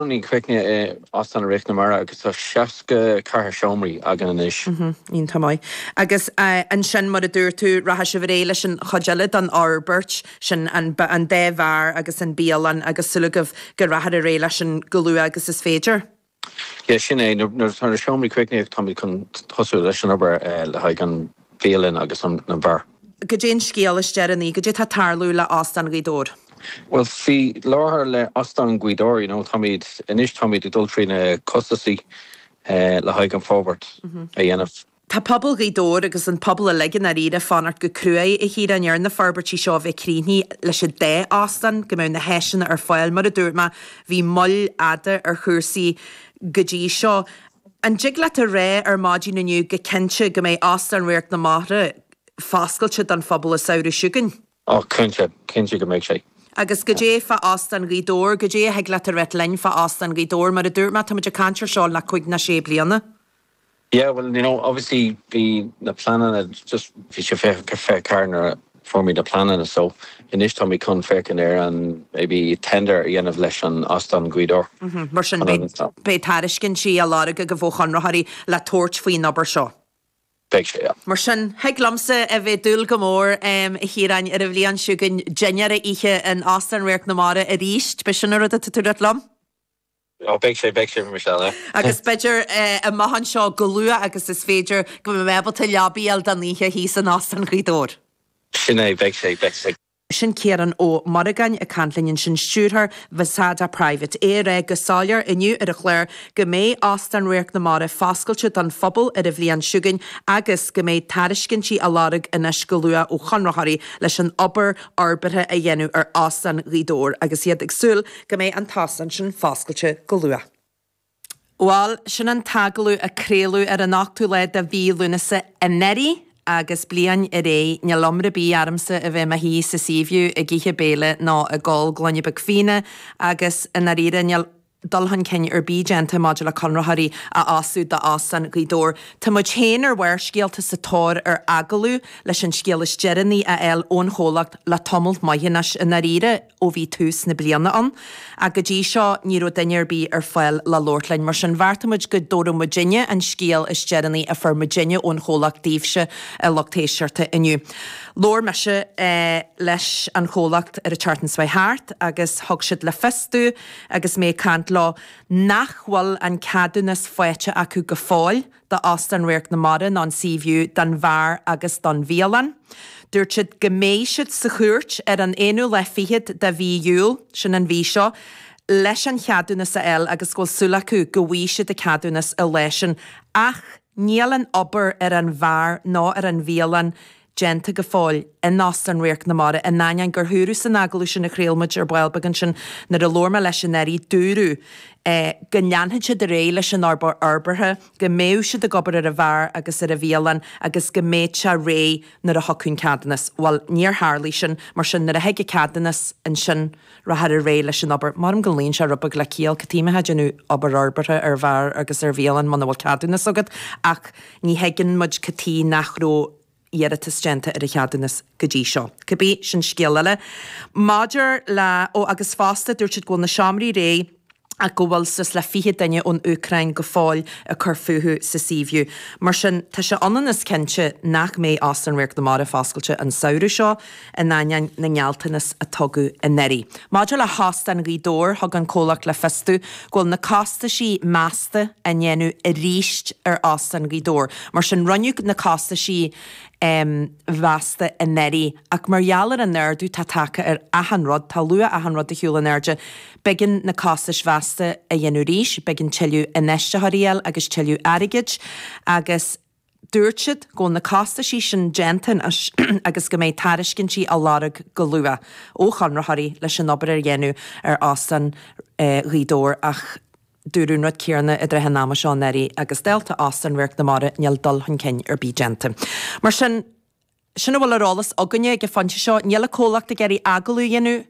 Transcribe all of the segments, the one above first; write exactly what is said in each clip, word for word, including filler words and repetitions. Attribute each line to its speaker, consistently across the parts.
Speaker 1: Críochnaithe i Óstán Radharc na Mara agus tá seasca ceathair seomraí againn anois.
Speaker 2: Iontach maith. Agus ansin mar a dúirt tú rachaidh sibh ar aghaidh leis an chuid eile den fhorbairt sin an an dá bheár agus an bialann agus súil agaibh go rachfar ar aghaidh leis sin go luath agus is féidir.
Speaker 1: Yeah, sin é nuair atá na seomraí críochnaithe táimid chun tosú leis an obair le haghaidh an bhialann agus an bheár.
Speaker 2: Goidé an scéal is deireanaí, goidé tá ag tarlú le Óstán Ghaoth Dobhair.
Speaker 1: Well faoi láthair le Óstán Ghaoth Dobhair, you know, táimid anois táimid ag dul trí na costaisí le haghaidh an forbairt a dhéanamh.
Speaker 2: Tá pobal Ghaoth Dobhair agus an pobal uilig i ndáiríre ag fanacht go cruaidh a Chiaráin ar na forbairtí seo a bheith críochnaithe leis an dá óstán, go mbeadh na háiseanna ar fáil. Mar a dúirt mé, bhí moill fhada ar chúrsaí go dtí seo. An dtig leat a rá ar maidin inniu go cinnte go mbeidh Óstán Radharc na Mara foscailte don phobal an samhradh seo chugainn?
Speaker 1: Ó, cinnte, cinnte go mbeidh sé.
Speaker 2: Agus goidé fá Óstán Ghaoth Dobhair, goidé a thig leat a ráit linn fá Óstán Ghaoth Dobhair, mar a dúirt mé, táimid ag caint ar seo le cúig nó sé bliana.
Speaker 1: Yeah, well, you know, obviously bhí na pleananna just bhí sé fiche fiche ceathair nuair a fuair muid na pleananna so anois táimid chun féachaint ar an maybe tender a dhéanamh leis an Óstán Ghaoth Dobhair.
Speaker 2: Mar sin beidh tairiscintí á lorg agaibh ó chonraitheoirí le tabhairt faoin obair seo.
Speaker 1: Beidh sé, yeah.
Speaker 2: Mar sin, thig liomsa a bheith ag dúil go mór, a Chiaráin, ar an bhliain seo chugainn dinnéar a ithe in Óstán Radharc na Mara arís. B'shin an rud atá tú ag ráit liom?
Speaker 1: Ó, beidh sé, beidh sé, Michelle, yeah.
Speaker 2: Agus b'fhéidir amach anseo go luath agus is féidir go mbeidh mé ábalta leabaidh a fháil don oíche thíos in Óstán Ghaoth Dobhair.
Speaker 1: Sin é, beidh sé, beidh sé.
Speaker 2: Sin Ciarán Ó Muireagáin ag caint linn ansin, stiúrthóir Vasada Private. É ag rá go soiléir inniu ar an chlár go mbeidh Óstán Radharc na Mara foscailte don phobal ar an bhliain seo chugainn agus go mbeidh tairiscintí á lorg anois go luath ó chonraitheoirí leis an obair fhorbartha a dhéanamh ar Óstán Ghaoth Dobhair agus iad ag súil go mbeidh an t-óstán sin foscailte go luath. Bhuel, sin an t-agallamh a craoladh ar an ochtú lá de mhí Lúnasa anuraidh agus bliain ar aghaidh, níl iomrá ar bith ormsa a bheith i mo shuí sa Seaview ag ithe béile nó ag ól gloine beag fíona agus i ndáiríre níl dul chun cinn ar bith déanta maidir le conraitheoirí a fhostú d'Óstán Ghaoth Dobhair. Tá muid féin ar Bharrscéalta sa tóir ar agallamh leis an scéal is deireanaí a fháil ón chomhlacht le tamall maith anois i ndáiríre ó bhí tús na bliana ann. Ach go dtí seo ní raibh duine ar bith ar fáil le labhairt linn. Mar sin bheartaigh muid go dtabharfadh muidinne an scéal is deireanaí a fuair muidinne ón chomhlacht daoibhse a lucht éisteachta inniu. Labhair mise leis an chomhlacht ar an tseachtain seo thart agus thug siad le fios domh agus mé ag caint leo nach bhfuil an ceadúnas faighte acu go fóill d'Óstán Radharc na Mara ná an Seaview don bheár agus don bhialann. Dúirt siad go mbeidh siad sa chúirt ar an aonú lá fichead de mhí Iúil, sin an mhí seo, leis an cheadúnas a fháil agus go bhfuil súil acu go bhfaighidh siad an ceadúnas an lá sin ach níl an obair ar an bheár ná ar an bhialann déanta go fóill in Óstán Radharc na Mara, in ainneoin gur dúradh san agallamh sin a chraol muid ar ball beag ansin nuair a labhair mé leis anuraidh, dúradh go leanfadh siad ar aghaidh leis an obair fhorbartha, go mbeadh siad ag obair ar an bheár agus ar an bhialann agus go mbeadh sé réidh nuair a thiocfadh an ceadúnas. Bhuel, níor tharlaigh sin, mar sin nuair a thig an ceadúnas ansin rachfar ar aghaidh leis an obair. Maram go luíonn sé rud beag le ciall, cad chuige a mbeifeá ag déanamh obair fhorbartha ar bheár agus ar bhialann muna bhfuil ceadúnas agat ach ní thuigeann muid cad chuige nach raibh iarratas déanta ar an cheadúnas go dtí seo. Cibé, sin scéal eile. Maidir le, ó agus fosta dúirt siad go bhfuil na seomraí réidh ach go bhfuil suas le fiche duine ón Úcráin go fóill ag cur fúthu sa Seaview. Mar sin, tá sé ionann is cinnte nach mbeidh Óstán Radharc na Mara foscailte an samhradh seo, in ainneoin na ngealltanas a tugadh anuraidh. Maidir le hÓstán Ghaoth Dobhair, thug an comhlacht le fios domh go bhfuil na costaisí measta á ndéanamh arís ar Óstán Ghaoth Dobhair. Mar sin, rinneadh na costaisí mheasta anuraidh ach mar gheall ar an ardú atá tagtha ar achan rud, tá luach achan rud ar shiúl in airde, b'éigean na costais mheasta a dhéanamh arís, b'éigean tuilleadh infheistitheoirí a fháil agus tuilleadh airgid agus dúirt siad go bhfuil na costaisí sin déanta anois agus go mbeidh tairiscintí á lorg go luath ó chonraitheoirí leis an obair a dhéanamh ar Óstán Ghaoth Dobhair ach dúradh an rud céanna i dtrátha an ama seo anuraidh agus dálta Óstán Radharc na Mara níl dul chun cinn ar bith déanta. Mar sin, sin a bhfuil ar eolas againne ag an phointe seo. Níl an comhlacht ag iarraidh agallamh a dhéanamh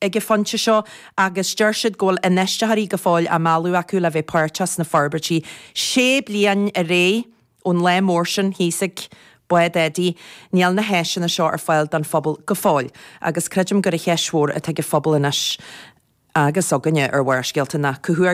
Speaker 2: ag an phointe seo agus deir siad go bhfuil infheistitheoirí go fóill á mealladh acu le bheith páirteach sna forbairtí. Sé bliain ar aghaidh ón lá mór sin thíos ag Bád Eddie, níl na háiseanna seo ar fáil don phobal go fóill agus creidim gur an cheist mhór atá ag an phobal anois. agus againne ar Bharrscéalta ná cá huair